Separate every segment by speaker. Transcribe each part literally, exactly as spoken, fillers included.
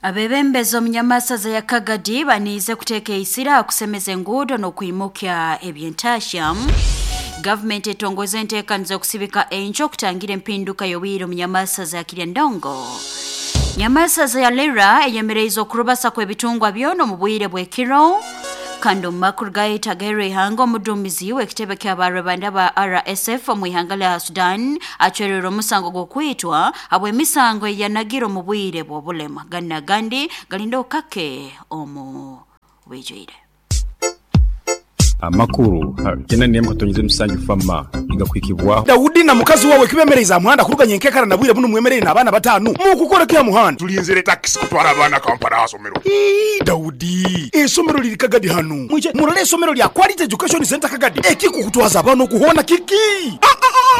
Speaker 1: Abebembezi omunyamasaza ya Kagadi baniize kuteeka eisira kusemeza enguudo n'okwimukya ebyentasya. Gavumenti etongoza enteekaniza okusibika enjo okutangira empinduka y'obwire omunyamasaza ya Kiryandongo. Nyamasaza ya Lira eyemereize okurubasa kw'ebitungwa byona omu bwire bw'ekiro. Kandi omu makuru gayetagere ihanga, omuduumizi w'ekitebe ky'abarwebanda ba R S F omu ihanga lya Sudan acwererwe omusango gw'okwitwa habw'emisango eyanagire omu bwire bw'obulema. Gana gandi galinda okake omu bwijwire.
Speaker 2: Amakuru kena nemu katonyize musanju fama igakwikibwa
Speaker 3: Daudi na mukazi wawe kibemereza muhanda kuruganya enkekara na bwire buno mwemerere n'abaana batanu mukukora kya muhanda
Speaker 4: tulinzire taxi kutwara abaana Kampala asomero.
Speaker 3: Ii Daudi, esomero liri Kagadi hanu mwije murole esomero lya Quality Education Center Kagadi ekikukutwaza abaana okuhona kiki.
Speaker 5: Eh, eh,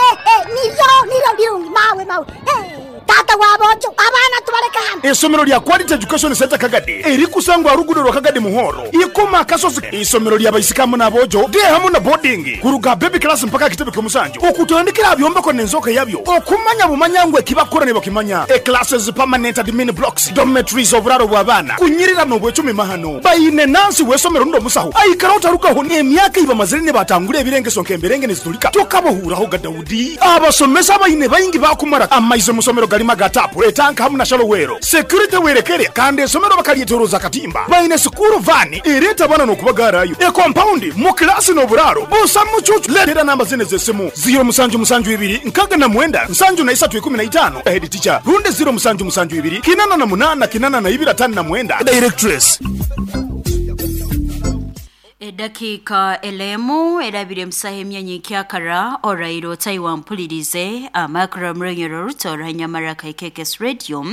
Speaker 5: eh, eh, niryo niryo birungi mawe mawe. Eh, tata wabojo abaana tubaleka hano.
Speaker 3: Esomero lya Quality Education Center Kagadi erikusangwa rugudo rwa Kagadi Muhoro ikoma kasozi. Isomero lya baisikamu n'abojo de hamu na boarding kuruga baby class mpaka kitebe ky'omusanju okutandikira byombeko n'enzoka yabyo okumanya bumanyangwe kibakora ne bakimanya. E classes permanent admin blocks dormitories oburaro bw'abaana kunyirira n'obwecumi mahano bayine nansi w'esomero ndo musaho aikara otarukaho n'emyaka ibamazire ne batangura ebirengeso nk'emberenge nezitulika tokabohuraho ga Daudi. Abasomesa bayine bayingi bakumara amaize musomero galima gatapu etanka hamu na shalowero security werekere kandi esomero bakalietoroza katimba bayine sukuru vani ereta bana n'okubagarayo e compound mu klasi n'oburaro busa mucucu. Letera namba zine z'essimu zero musanju musanju ibiri nkaga na mwenda nsanju na isatu ikumi na itano head teacher runde zero musanju musanju ibiri kinana na munana kinana na ibiri atano na mwenda directress.
Speaker 1: Edakika elemu erabire musaha emyanya ekyakara orairo taiwampulirize amakuru murenyero rutora nyamara kaikekes radio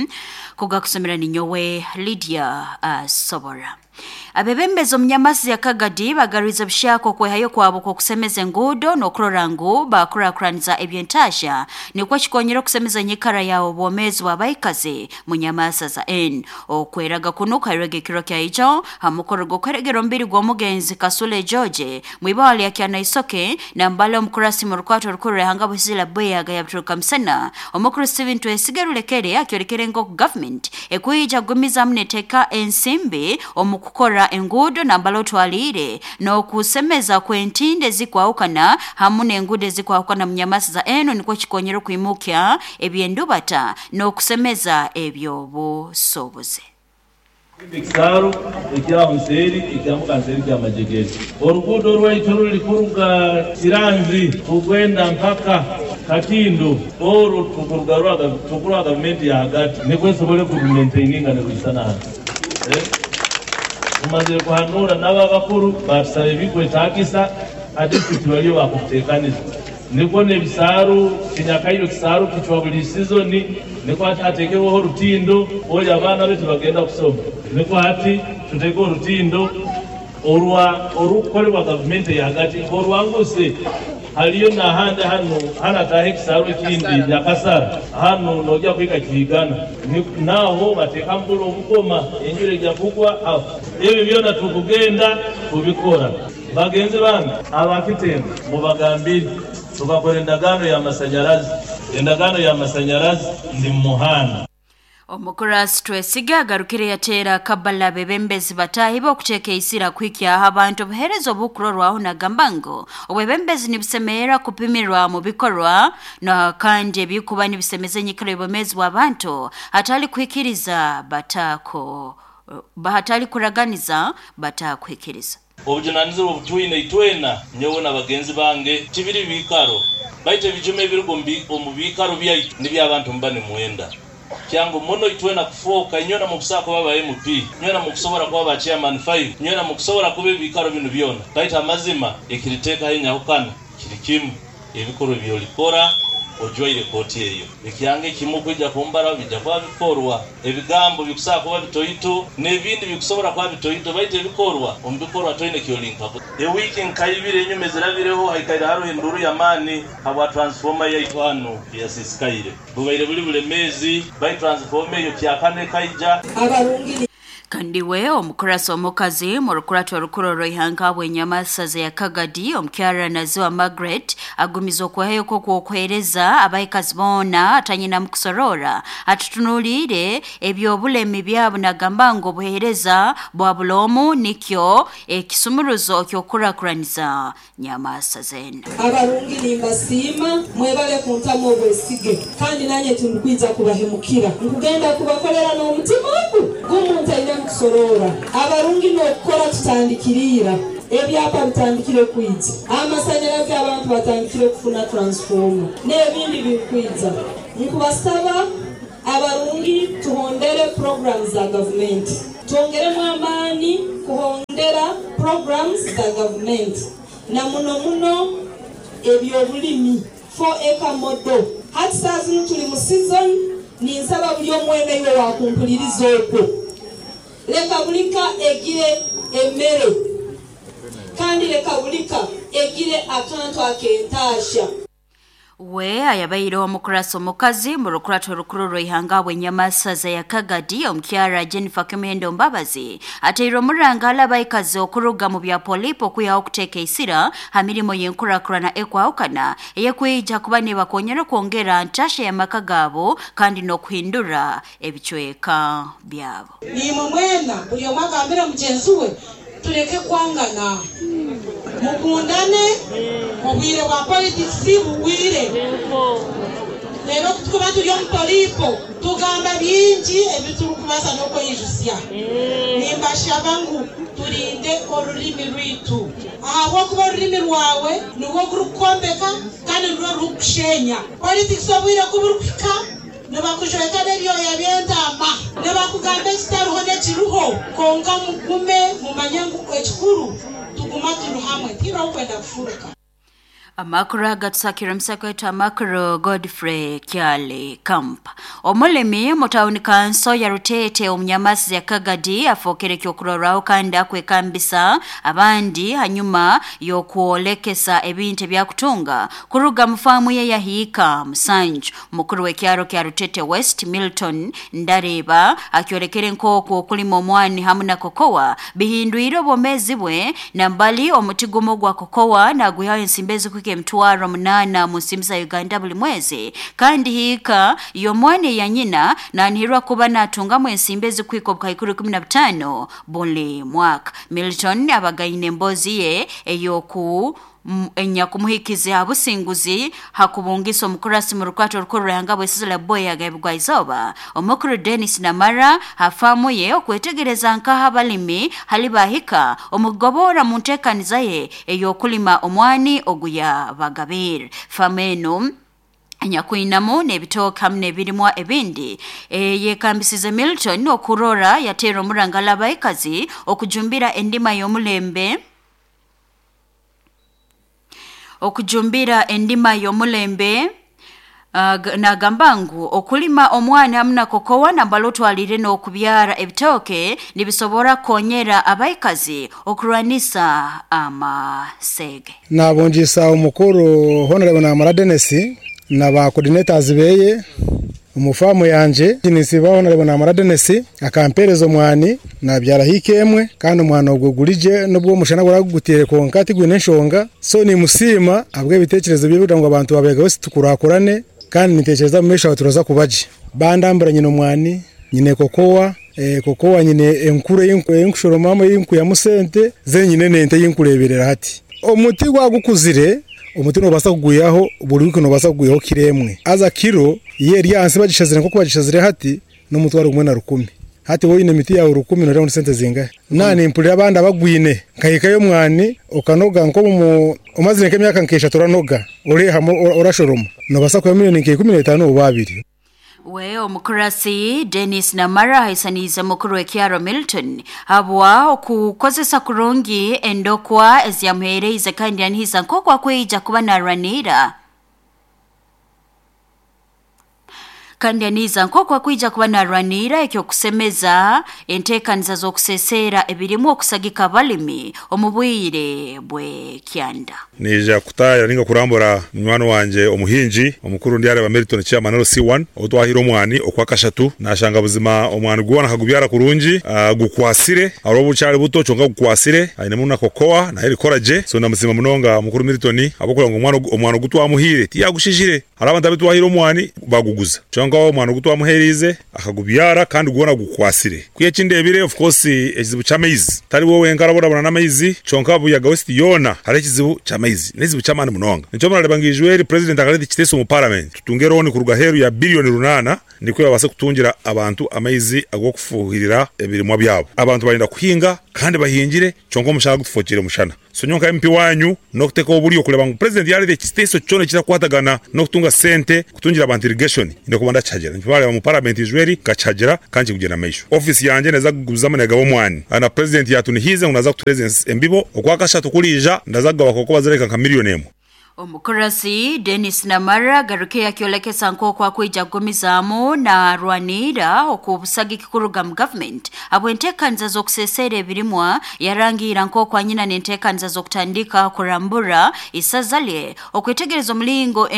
Speaker 1: kugakusomera ninyowe Lydia uh, Sobora. Abebembezi omunyamasi ya Kagadi bagariza bushako kwehayo kwabo kusemeza enguudo n'okurora ngu bakurakuraniza ebyentasha nikwo kikonyera okusemeza enyikara yaabo obwomeezi bw'abaikazi mu nyamasa za N. Okweraga kuno kairega ekiro kyaijo hamukoro gw'okweregera omubiri gw'omugenzi Kasule George mwibawali lya Kyanaisoke nambale omukurasi mu rukwato rukuru ehanga busizila bweyaga yabituruka musana. Omukuru Steven Twesige Rulekere akyorekere ngo government ekwija kugumizamu neteeka ensimbi omu kukora enguudo nambalo twalire n'okusemeza kw'entinde zikwahukana hamu n'enguudo ezikwahukana mu nyamasi za eno nikwo kikonyera okwimukya ebyendubata n'okusemeza ebyobusobozi.
Speaker 6: Ekisaru ekyaho nseeri ekyambuka nseeri kyamajegere oruguudo rwaitu ruri kuruga Kiranzi kugenda mpaka Katindo orwo tukurwa gavumenti ya hagati nikwo esobole kurumaintaininga nerwisana hati. Tumaze kuhanura n'ababakuru batusaba ebikwetaagisa ate tibaliyo bakuteekaniza nikwo n'ebisaaru kinyakairo kisaaru kichwa buli sizoni nikwo hateekeweho orutindo ori abaana betu bagenda kusoma nikwo hati tuteeke orutindo orwa orukukolebwa gavumenti yahagati orwanguse haliyo nahandi hano hanataha ekisaaru ekindi Nyakasara hano nojja kuhika Kihigana naho bateeka mbula obukoma enjura ejja kugwa aho ebyo byona tukugenda kubikora. Bagenzi bange abakitemba mubagambire tukakora endagaano y'amasanyarazi endagaano y'amasanyarazi ndi muhanda.
Speaker 1: Omukurasi Twesige agarukire yateera kabala bebembezi batahiba okuteeka eisira kuhikyaho abantu obuheereza obukurorwaho nagamba ngu obwebembezi nibusemerera kupimirwa mu bikorwa na kandi ebikuba nibisemeza enyikara y'obwomeezi bw'abantu hatali kuhikiriza batako hatali kuraganiza batakuhikiriza.
Speaker 6: Obujunanizibwa obutwine itwena nyowe n'abagenzi bange tibiri bikaro baite ebijuma ebirigo omu bikaro byaitu niby'abantu mba nimwenda kyangu muno itwena kufoka nyona mukusobola kuba ba M P nyona mukusobola kuba ba chairman five nyona mukusobola kuba ebikaro bino byona baita amazima ekiriteekaho enyahukana kiri kimu ebikorwa ebyolikora ojwaire kooti eyo ekyange kimu kwijja kumbara bijja kuba bikorwa ebigambo bikusobola kuba bitoito n'ebindi bikusobola kuba bitoito baita ebikorwa omu bikorwa toine kyolinka ewiiki nkaibiri enyuma ezirabireho haikaire hariho enduru y'amaani habwa transformer yaitu hano eyasisikaire bubaire buli bulemeezi bai transformer eyo kyakane kaija.
Speaker 1: Kandi we omukurasi omukazi mu rukurato orukuru rw'ihanga bw'enyamasaza ya Kagadi omukyara Naziwa Margaret agumiza okwehayo kw'okwokuheereza abaikazi boona atanyina mu kusorora atutunuulire eby'obulemi byabo nagamba ngu obuheereza bwa bulomu nikyo ekisumuruzo ky'okukurakuraniza nyamasaza eno.
Speaker 7: Abarungi nimbasiima mwebale kuntamu obwesige kandi nanye tindikwija kubahemukira nkugenda kubakolera n'omutima ogu gumuntu aine kusorora. Abarungi n'okukora tutandikirira ebyapa bitandikire kwija, amasanyalazi abantu batandikire kufuna transformer n'ebindi bikwija. Nkubasaba abarungi tuhondere programs za government, twongeremu amaani kuhondera programs za government na muno muno ebyobulimi four acre model. Hati saa zino tuli mu season, ninsaba buli omwene iwe wakumpuliriza okwo leka bulika egire emmere kandi leka bulika egire akantu akentaasha.
Speaker 1: We ayabaire omukurasi omukazi mu rukurato orukuru rw'ihanga bw'enyamasaza ya Kagadi omukyara Jennifer Kemendo Mbabazi ateire omuranga abaikazi okuruga mu bya polipo okwihaho okuteeka isira ha mirimo y'enkurakurana ekwahukana eyekwija kuba nibakonyera kwongera ntasha y'amaka gaabo kandi n'okuhindura ebicweka byabo.
Speaker 8: Nimwe mwena buli omwe agambire mugyenzi we tureke kwangana, mukundane, obwire bwa politics bugwire. Rero tukuba turi omu polipo tugamba bingi ebiturikubaasa n'okweyijusya. Nimbashaba ngu turinde orurimi rwitu ahabw'okuba orurimi rwawe nirwo gurikwombeka kandi nirwo rurikushenya. Politics obwire kuburikuhika nibakujweka n'ebyoya by'entama, nibakugamba ekitariho n'ekiriho, konka mugume mumanye ngu ekikuru tuguma turi hamwe tihariho kwenda kufuruka.
Speaker 1: Amakuru agatusakira omusako wetu amakuru Godfrey Kyale Kampa. Omulimi mu tawuni kanso ya Rutete omunyamasi ya Kagadi afookere kyokurorraho kandi akwekambisa abandi hanyuma y'okwolekesa ebintu ebyakutunga kuruga mu faamu ye yahiika Musanju. Mukuru w'ekyaro kya Rutete West Milton Ndareba akyolekere nk'oku okulima omwani hamu na kokowa bihindwire obwomeezi bwe nambali omuti gumu gwa kokowa nagwihaho ensimbi ezikuhika emitwaro munana mu nsimbi za Uganda buli mwezi kandi hiika y'omwana ya nyina nanihirwa kuba natungamu ensimbi ezikuhika obukaikuru ikumi na butaano buli mwaka. Milton abagaine embozi ye ey'oku enyakumuhikiza abusinguzi hakubungisa omukurasi mu rukwato orukuru rw'ihanga bw'esizo la Boya gabigwa izooba. Omukuru Dennis Namara hafaamu ye okwetegereza nkaha abalimi hali bahika omugobora mu nteekaniza ye ey'okulima omwani oguya bagabire. Faamu eno nyakwinamu n'ebitooke hamu n'ebirimwa ebindi e, yekambisize Milton okurora yateera omurangala abaikazi okujumbira endima y'omulembe okujumbira endima y'omulembe uh, nagamba ngu okulima omwana hamu na kokowa nambala otwalire n'okubyara ebitooke nibisobora kukonyera abaikazi okurwanisa amasege.
Speaker 9: Nabongisa omukuru Honorable Namara Dennis na ba coordinators beye omufamu yanje nisiba Honorable Namara Dennis akampereza omwani nabyara hikemwe kandi omwana ogwo gulije nubwo omushana guragutire konka tigwine enshonga. So ni musima abwe ebitekerezo bye kugira ngo abantu babega bose tukurakurane kandi nitekereza mu mesha turaza kubaje bandambura nyine omwani nyine kokowa e, kokowa nyine enkure y'inkushoromamo y'inku ya musente zenyine nente y'inkureberera hati omuti gwagukuzire omuti nobasa kuguyaho buri wiki nobasa kuguyaho kiremwe aza kiro ye ryansi bagishazire nko kubagishazire hati n'umutwaro gumwe na rukumi hati wowe ine miti yawe rukumi no sente zingahe nani impulira abandi abagwine nkahikayo mwani okanoga nko mu umazire nk'emyaka nkesha turanoga uri orashoroma nobasa kuya miliyoni nke ikumi n'etano babiri.
Speaker 1: We omukurasi Dennis Namara haisaniza mukuru w'ekyaro Milton habwa okukozesa kurungi endokwa ezyamuheereize kandi yanihisa nk'oku akwija kuba narwanira Kandi aniza nk'oku akwija kuba narwanira ekyokusemeza enteekaniza z'okuseseera ebirimu okusagika abalimi omu bwire bw'ekyanda.
Speaker 10: Nija kutaya ninga kurambura munywani wanje omuhingi omukuru ndi areba Milton Chairman L C one otwahira omwani okwakashatu nashanga buzima omwani gwana kagubyara kurungi uh, gukwasire aro bucyari buto cyonga gukwasire aine muna kokoa na erikora je so ndamuzima munonga mukuru Milton abokora ngo omwana omwana gutwamuhire tiyagushishire hari abantu abitwahira omwani baguguza cyonga omwana gutwamuherize akagubyara kandi gwana gukwasire kuye kindebire of course ekizibu cy'amaizi tari wowe nkarabona bona n'amaizi cyonka buyaga west yona hari ekizibu cy'amaizi nezibu cy'amani munonga nico murareba ngijweri president akareti kiteso mu parliament tutunge roni kuruga heru ya billion runana niko yabase kutungira abantu amaizi agokufuhirira ebirimwa byabo abantu barinda kuhinga kandi bahingire cyonka mushaka gutufokire mushana so nyonka M P wanyu nokuteka oburiyo kuleba ngu president yarire kiteso cyone kirakwatagana no kutunga sente kutungira abantu irrigation ndokubanda chajera ntibale mu parliament ijweri gachajera kanji kugena maisho office yanje neza kuguzama negabo mwani ana president yatunihize unaza kutureze embibo okwakashatu kulija ndazaga bakoko bazereka nka million emu.
Speaker 1: Omukurasi Dennis Namara garuke yakiolekesa nk'oku akwija kugumizamu na rwanira okubusagiki kuruga mu government abo enteekaniza z'okuseseera ebirimwa yarangira nk'oku anyina n'enteekaniza z'okutandika kurambura isaza lye okwetegereza omulingo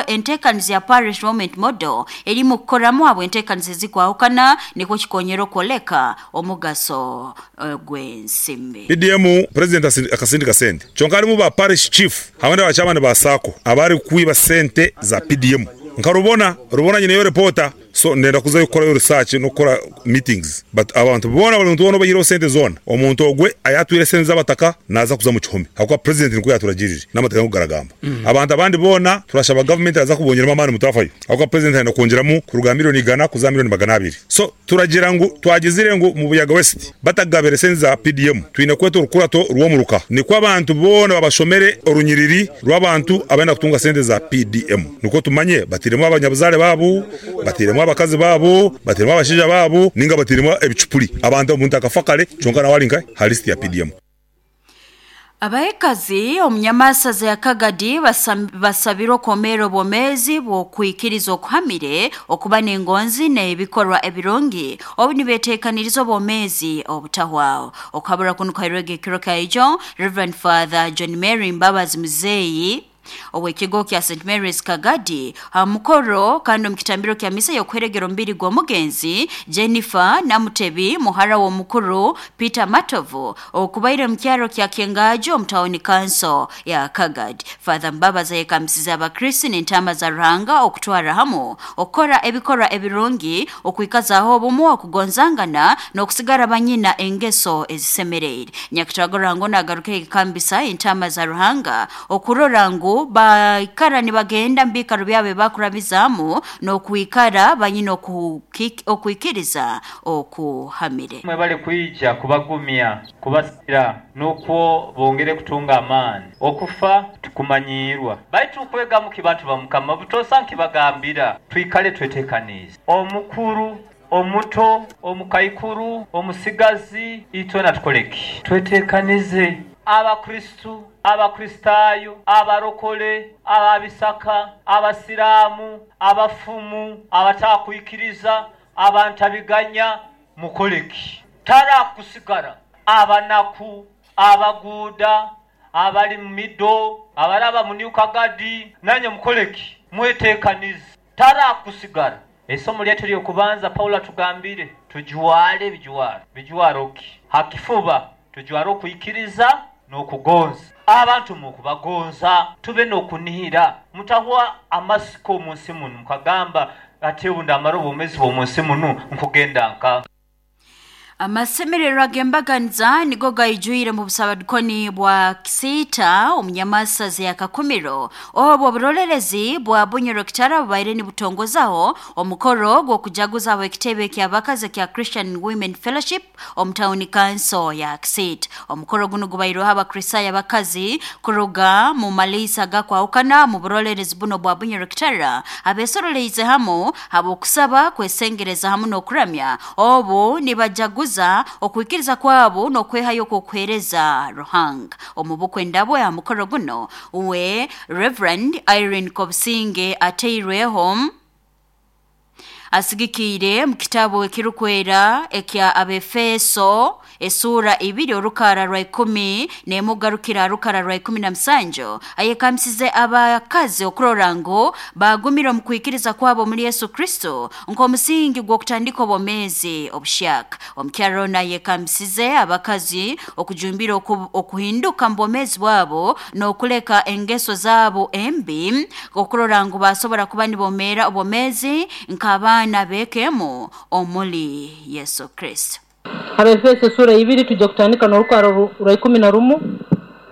Speaker 1: enteekaniza ya parish development model erimu kukoramu abo enteekaniza ezikwahukana nikwo kikonyera okwoleka omugaso uh, gw'ensimbi.
Speaker 10: P D M president akasindika sente kyonka alimu ba parish chief hamwe n'abachama ba sako abari kuiba sente za P D M nkarubona rubona nyine yo reporter so ndenda kuzayo gukora yo research no gukora meetings but abantu bona bali muntu bona bayiro sente zone omuntu ogwe ayatwire sente zabataka naza kuza mu kihome hakuba president niko yaturagirije n'amateka kugaragamba mm. Abantu abandi bona turashaba government aza kubongeramo amani mutafayo hakuba president ayina kongeramo kuruga miliyoni igana kuza miliyoni magana abiri so turagira ngo twagizire ngo mu Buyaga West batagabere sente za P D M twina kweto rukurato ruwomuruka niko abantu bona babashomere orunyiriri rw'abantu abenda kutunga sente za P D M niko tumanye batiremo abanyabuzale babu batiremo abakazi babo batiremo abashija babo ninga batiremo ebicupuri abantu omuntu akafakale cyonka na walinka halist ya P D M.
Speaker 1: Abaekazi omunyamasaza ya Kagadi basabirwa okwomera obwomezi bw'okwikiriza okuhamire okuba n'engonzi n'ebikorwa ebirungi obu nibeteekaniriza obwomezi obutahwaho. Okhabura kuno kwairwega ekiro kaijo Reverend Father John Mary Mbabazi Muzeyi owekigo kya Saint Mary's Kagadi hamukoro kandi omukitambiro kya misa y'okweregera omubiri gw'omugenzi Jennifer Namutebi muhara w'omukuru Peter Matovu okubaire mu kyaro kya Kengajo omutawuni council ya Kagadi. Father Mbabazi yekamisiza abakristo n'entama za Ruhanga okutwara hamu okukora ebikorwa ebirungi okwikazaho obumu okugonzangana n'okusigara banyina engeso ezisemereire. Nyakitagora ngo nagaruke ekambisa entama za Ruhanga okurora ngu baikara nibagenda mbikaro byabe bakurabizamu n'okuikara banyina okuikiriza okuhamire.
Speaker 11: Mwebale kuija kubagumya kubasira nukwo bongere kutunga amaani okufa tukumanyirwa baitu kwega mu kibantu ba Mukama butosa nkibagambira twikale twetekanize omukuru omuto omukaikuru omusigazi itwe natukoleki twetekanize abakristu abakristayo abarokole ababisaka abasiramu abafumu abatakwikiriza abantabiganya mukoleki tara kusigara abanaku abaguda abali mido abaraba muniukagadi nanye mukoleki mwetekanize tara kusigara. Esomo lyetu lyokubanza Paulo atugambire tujuwale bijuwaro bijuwaroki hakifuba tujuwaro kuikiriza n'okugonza abantu mukubagonza tube n'okunihira mutahwa amasiko mu nsi muno mukagamba ati ubu ndamara obumezi bw'omu nsi muno nkugenda nka.
Speaker 1: Amasemerero agembaganiza nigo gaijuire mu busabadikoni bwa Kisita omunyamasaza ya Kakumiro obwo oburolerezi bwa Bunyoro Kitara bubaire nibutongozaho omukoro gw'okujaguza abo ekitebe ky'abakazi kya Christian Women Fellowship omu town council ya Kisita. Omukoro guno gubaireho abakristayo abakazi kuruga mu malisa gakwahukana mu burolerezi buno bwa Bunyoro Kitara abesoroleize hamu abokusaba kwesengereza hamu n'okuramya obu nibajaguza okwikiriza kwabo n'okwehayo okwokuheereza Ruhanga. Omu bukwe ya mukoro guno uwe Reverend Irene Kobsinge ateirweho Asigikiire mu kitabu ekirukwera ekya Abefeso esura ibiri orukara rwa ikumi nemugarukira rukara rwa ikumi na musanju ayekamsize abakazi okurora ngu bagumira mu kwikiriza kwabo muri Yesu Kristo nk'omusingi gw'okutandika obwomezi obushaka. Omukyaro nayekamsize abakazi okujumbira okuhinduka mbomezi bwabo n'okuleka engeso zabo embi okurora ngu basobora kuba nibomera obwomezi nk'abaana bekemo omuli Yesu Kristo.
Speaker 12: Abefeso sura ibiri tujja kutandika n'orukara rwa ikumi na rumu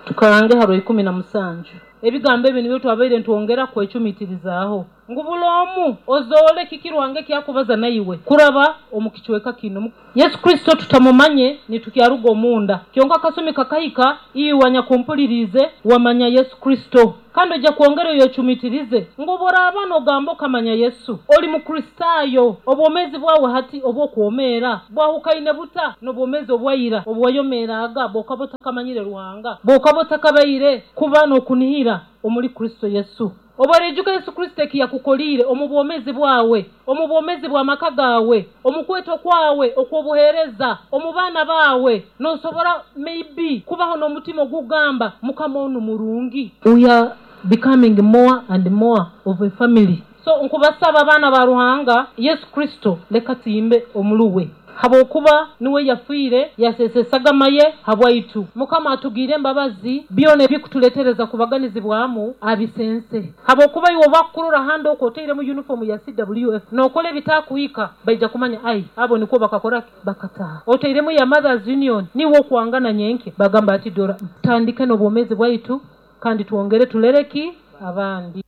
Speaker 12: tukarange ha rwa ikumi na musanju. Ebigambo ebi nibyo twabaire ntwongera kwecumiitirizaaho ngu bulomu ozoole kikirwange kyakubaza naiwe kuraba omu kichweka kino. Yesu Kristo tutamumanye nitukyaruga omunda kyonka kasumi kakahika iwe nyakumpulirize wamanya Yesu Kristo kandi ojja kwongera oyecumitirize ngu boraba nogamba okamanya Yesu oli mukristayo obwomezi bwawe hati obwokwomeera bwahukaine buta n'obwomezi obwaira obwayomeeraga bwokaba otakamanyire Ruhanga bwokaba otakabaire kuba n'okunihira omuli Kristo Yesu. Obarejuka Yesu Kristo ekiyakukolire omu bwomezi bwawe, omu bwomezi bwa maka gawe, omu kweto kwawe okwobuhereza, omu baana bawe, nosobora maybe kubaho n'omutima ogugamba Mukama onu murungi. We are becoming more and more of a family. So nkubasaba abaana ba Ruhanga Yesu Kristo leka tuyimbe omuluwe habwokuba niwe yafiire yasesesagama ye habwaitu. Mukama atugire embabazi byona ebikutuletereza kubaganizibwamu abisense habwokuba iwe bakurora hando okoteire mu uniform ya C W F nokola ebitakuhika baija kumanya ai abo niko bakakora bakataha oteiremu ya Mothers Union niwo kwangana nyenke bagamba ati dora tandike n'obwomezi bwaitu kandi tuongere tulereki abandi.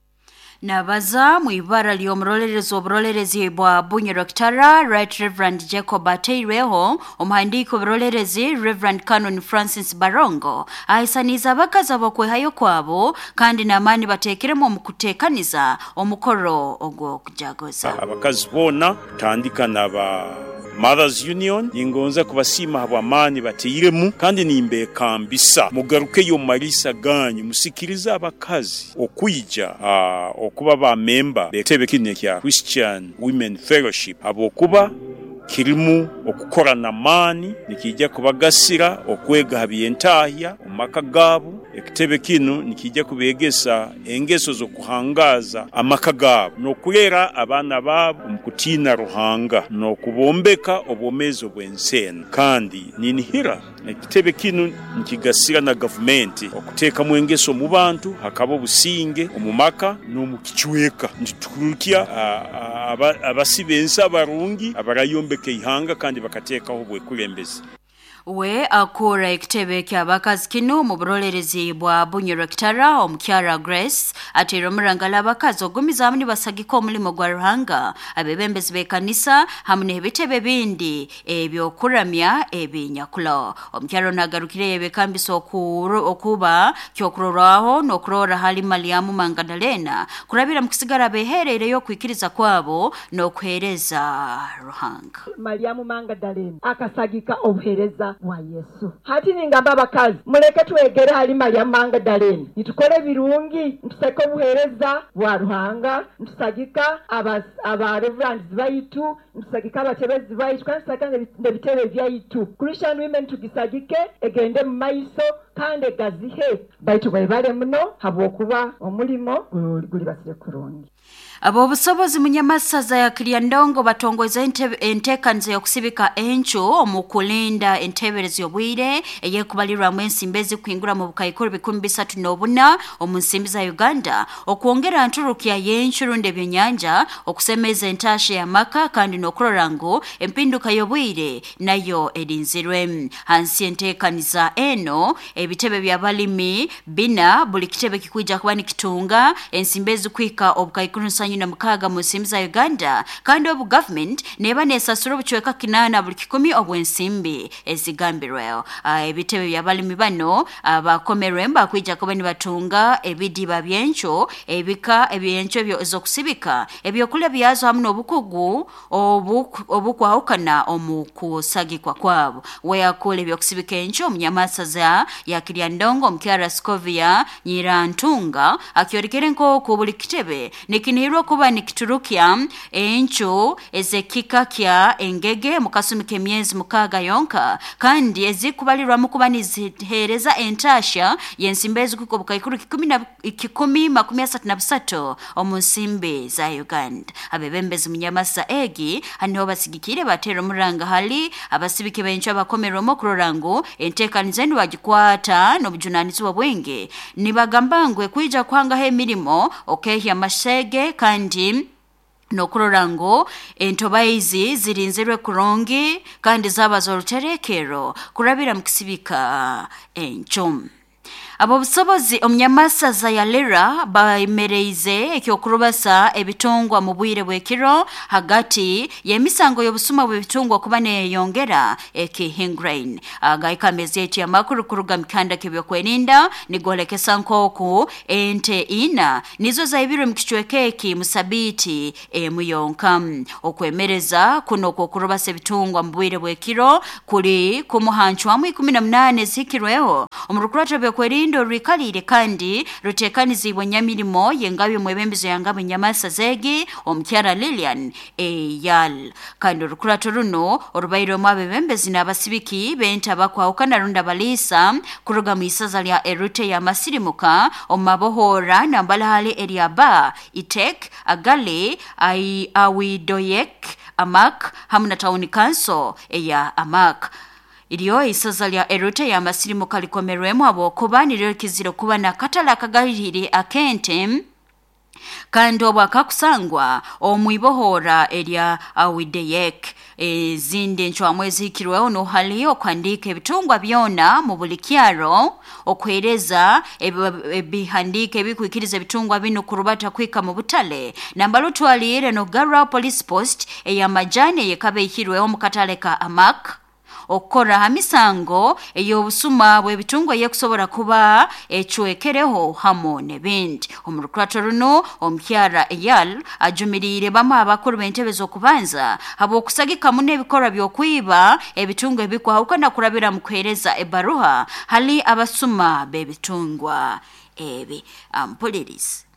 Speaker 1: Nabaza mu ibara ly'omurolerezi oburolerezi bwa Bunyoro Kitara Right Reverend Jacob Ateireho omuhandiiko oburolerezi Reverend Canon Francis Barongo ahisaniza abakazi abokwehayo kwabo kandi n'amaani bateekeremu omu kuteekaniza omukoro ogw'okujaguza.
Speaker 13: Abakazi boona tandika n'aba Mothers Union ningonza kubasiima habw'amaani bateiremu kandi nimbekambisa mugarukeyo mu malisa ganyu musikirize abakazi okwija uh, okuba ba memba bekitebe kino ekya Christian Women Fellowship habwokuba kirimu okukora n'amaani nikijja kubagasira okwega ha byentahya omu maka gaabo. Ekitebe kinu nikijja kubegesa engeso z'okuhangaza amaka gaabo n'okulera abaana baabo omu kutiina Ruhanga n'okubombeka obwomeezi obw'ensi. Kandi ninihira ekitebe kinu nikigasira na gavumenti okuteekamu engeso mu bantu hakaba obusinge omu maka n'omu kicweka. Nitukurukya abasiba ensi abarungi abarayombeka ihanga kandi bakateekaho obwekulembezi.
Speaker 1: We akura ekitebe ky'abakazi kino mu burolerezi bwa Bunyoro Kitara omukyara Grace atera omurangala abakazi ogumizaamu nibasagika omulimo gwa Ruhanga abebembezi b'ekanisa hamwe n'ebitebe bindi ebyokuramya ebinyakulo. Omukyara nagarukire ebekambisa okuba kyokurorwaho n'okurora hali Mariamu Magdalena kurabira mu kusigara beherereyo okwikiriza kwabo n'okuhereza Ruhanga.
Speaker 14: Mariamu Magdalena akasagika obuhereza wa Yesu. Hati ningamba abakazi muleke twegere hali Mariamu Magdalena nitukole ebirungi ntuseke obuhereza bwa Ruhanga ntusagika aba reverends baitu ntusagika abatebezi baitu kandi tusagika n'ebitebe byaitu. Christian women tugisagike egende mu maiso kandi egazihe baitu baibale muno habwokuba omulimo gulibasire kurungi.
Speaker 1: Abo obusobozi munyamasaza ya Kiryandongo batongoza enteekaniza y'okusibika encu omu kulinda enteberezo y'obwire eyekubalirwamu ensimbi ezikuhingura mu bukaikuru bikumi bisatu n'obuna omu nsimbi za Uganda okwongera nturukya y'encu rundi ebyenyanja okusemeza entasha y'amaka kandi n'okurora ngu empinduka y'obwire nayo erinzirwe. Hansi enteekaniza eno ebitebe by'abalimi bina buli kitebe kikwija kuba nikitunga ensimbi ezikuhika obukaikuru nsanyu na mukaga mu nsimbi za Uganda kandi obu government neba nesasura obucweka kinana buli kikumi obw'ensimbi ezigambirweho. Uh, ebitebe by'abalimi bano abakomerwe uh, bakwija kuba nibatunga ebidiba byencho ebika ebyencho ebyo ezokusibika ebyokulya byazo hamwe n'obukugu obukwahukana omu kusagikwa kwabo. Weyakula ebyokusibika encu omunyamasaza ya Kiryandongo omukyara Skovia Nyirantunga akyorekere nk'oku buli kitebe nikinihirwa kuba nikiturukya encu ezekika kya engege mu kasumi k'emyezi mukaaga yonka kandi ezikubalirwamu kuba nizihereza entasha y'ensimbi ezikuka obukaikuru kikumi makumi asatu na busatu omu nsimbi za Uganda. Abebembezi munyamasa egi haniho basigikire batera omuranga hali abasibiki b'encu abakomerwemu okurora ngu enteekaniza enu bagikwata n'obujunanizibwa bwingi. Nibagamba ngu ekwija kuhangaho emirimo okehya amashege kandi nokurora ngu entobaizi zirinzirwe kurungi kandi zaba z'oruterekero kurabira mu kisibika encu. Abo busobozi omunyamasaza ya Lira baemereize ekyokurubasa ebitungwa mu bwire bw'ekiro hagati y'emisango y'obusuma bw'ebitungwa kuba neyongera ekihingrain. Agaika amezi eti amakuru kuruga mikanda k'ebyokwerinda nigolekesa nk'oku ente ina nizo zaibirwe mu kicweka eki musabiti emu yonka. Okwemereza kuno kw'okurubasa ebitungwa mu bwire bw'ekiro kuli kumuhancwamu ikumi na munane zihikirweho omu rukurato byokwerinda rwikalire kandi rutekanizibwe nyamirimo yengabi mwebembezo yangabi nyamasa zegi omukyara Lilian Eyal. Kandi orukurato runo orubaire omu abebembezi n'abasibiki benta bakwahukana runda balisa kuruga mu isaza lya Erute ya Masirimuka omu mabohora nambalahali eryaba Itek Agali ai Awidoyek Amak hamu na Town Council eya Amak. Iriyo isaza lya Erute ya Masirimuka likomerwemu habwokuba niryo kizira kuba na katala akagalihire akente kandi obwo akakusangwa omwibohora erya Awideyek. Ezindi encwamu ezihikirweho nohali okuhandika ebitungwa byona mu buli kyaro, okuhereza ebihandika ebikwikiriza ebitungwa bino kurubata kwika mu butale nambala otwalire nokugarraho police post ey'amajani eyekaba ehirweho mu katale ka Amak, okukora ha misango ey'obusuma bw'ebitungwa eyekusobora kuba ecwekereho hamu n'ebindi. Omu rukurato runo omukyara Eyal ajumiriire bamu abakuru b'entebe z'okubanza habw'okusagikamu n'ebikorwa by'okwiba ebitungwa ebikwahukana kurabira mu kuheereza ebaruha hali abasuma b'ebitungwa ebi. Ampulirizi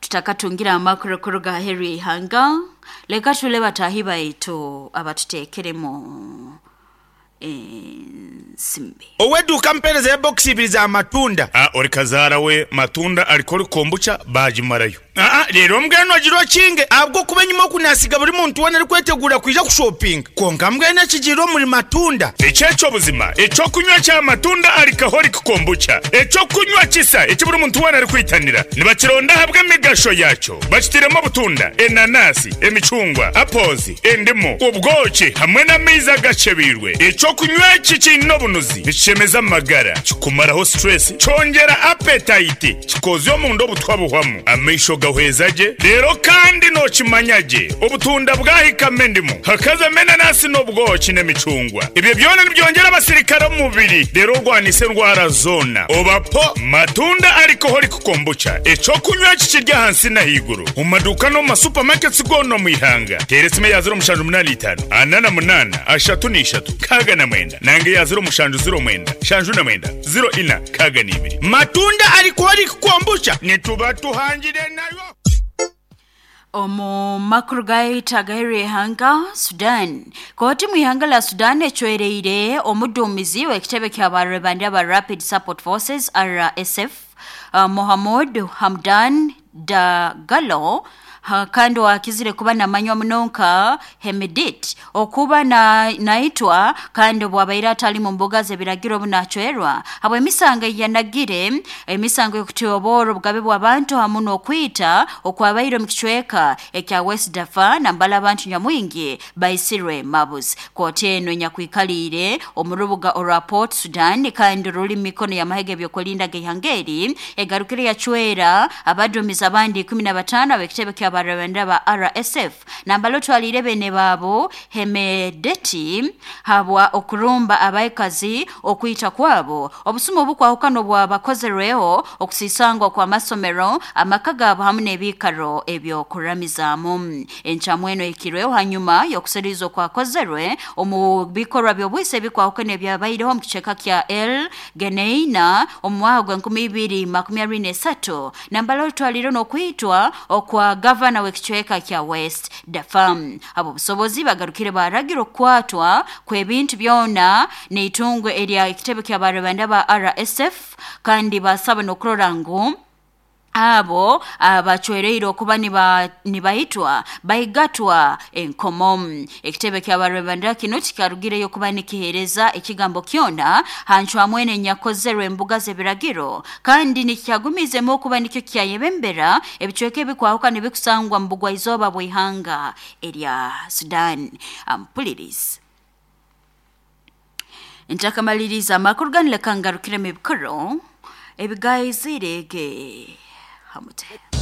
Speaker 1: tutakatungira amakuru kuruga heri ihanga, leka tule batahi baitu abatutekeremu ensimbi.
Speaker 15: Oweduka mpereza ya box ibiri za matunda.
Speaker 13: Ah, ori kazara we matunda alikori kombucha bajimarayo.
Speaker 15: Ah, rero mbweno agiro kinge abwo kuba nyuma kunasiga buri muntu wana ari kwetegura kwija ku shopping. Konka mbweno kigiro muri matunda.
Speaker 13: Echecho buzima, echo kunywa cha matunda alikahori kombucha. Echo kunywa kisa eki buri muntu wana ari kwitanira. Nibakironda habwe emigasho yacho. Bakitiremo butunda, enanasi, emicungwa, apples, endimu, ubwoki hamwe n'amaizi agacebirwe. Echo kunywa eki kiine obunuzi nikishemeza amagara, kikumaraho stress, kyongera appetite, kikozya omunda obutwa buhwamu, amaisho gahweza gye. Rero kandi nokimanya gye obutunda bwahikamo endimu, hakazamo enanasi n'obwoki n'emicungwa. Ebyo byona nibyongera abasirikare omu mubiri, rero orwanisa endwara zona. Obapo matunda alcoholic kombucha, ekyokunywa eki kiri ahansi n'ahaiguru omu maduuka n'omu masupamaketi goona omu ihanga. Teera esimu eya ziro mushanju munaana itaano ana na munaana ashatu n'ishatu kaga na mwenda nange ya ziro mushanju ziro mwenda shanju na mwenda ziro ina kaga n'ibiri.
Speaker 15: Matunda alcoholic kombucha nituba tuhangire nayo.
Speaker 1: Omu makuru gaita agaheri ihanga Sudan. Kooti mu ihanga la Sudan ecwereire omuduumizi w'ekitebe ky'abarwebandi aba Rapid Support Forces R S F uh, Mohamud Hamdan Dagalo ha, kandi wakizire kuba namanywa munonka Hemedit okuba na naitwa kandi bwabaire atali mu mbuga z'ebiragiro bunachwerwa habwe emisango yanagire emisango y'okutyoboora obugabe bw'abantu hamu n'okwita okwabaire mu kicweka ekya West Darfur nambala abantu nyamwingi baisirwe mabuzi. Kooti eno enyakwikaliire omu rubuga orwa Port Sudan kandi ruli mu mikono y'amahege ebyokulinda g'ihangeri egarukire yachwera abaduumizi abandi ikumi na bataano ab'ekitebe kya ky'abarabanda ba R S F nambalo twalire bene babo Hemedeti habwa okurumba abaikazi okwita kwabo obusumu obukwahukano bwabakozerweho okusisangwa kwa masomero amaka gabo hamwe n'ebikaro ebyo kuramizaamu. Encamweno ekirweho hanyuma y'okusirizo kwakozerwe omu bikorwa by'obwise bikwahukana ebyabaireho mu kiceka kya El Geneina omu mwaka gwa nkumi ibiri makumi abiri n'esatu nambalo twalire n'okwitwa okwa gavana w'ekicweka kya West Darfur. Abo busobozi bagarukire baragira okukwatwa kw'ebintu byona n'itungwe erya ekitebe ky'abarabanda ba R S F kandi basaba n'okurora ngu abo abachwereire okuba niba nibaitwa baigatwa enkomo. Ekitebe ky'abarabanda kino kikarugireyo kuba nikihereza ekigambo kyona hancwamwene nyakozerwe embuga z'ebiragiro kandi nikyagumizemu okuba nikyo kyayebembera ebicweka ebikwahuka nibikusangwa mu bugwa izooba bw'ihanga erya Sudan. Ampulirizi ntakamaliriza amakuru ganileka ngarukiremu ebikoro ebigayizirege hamute.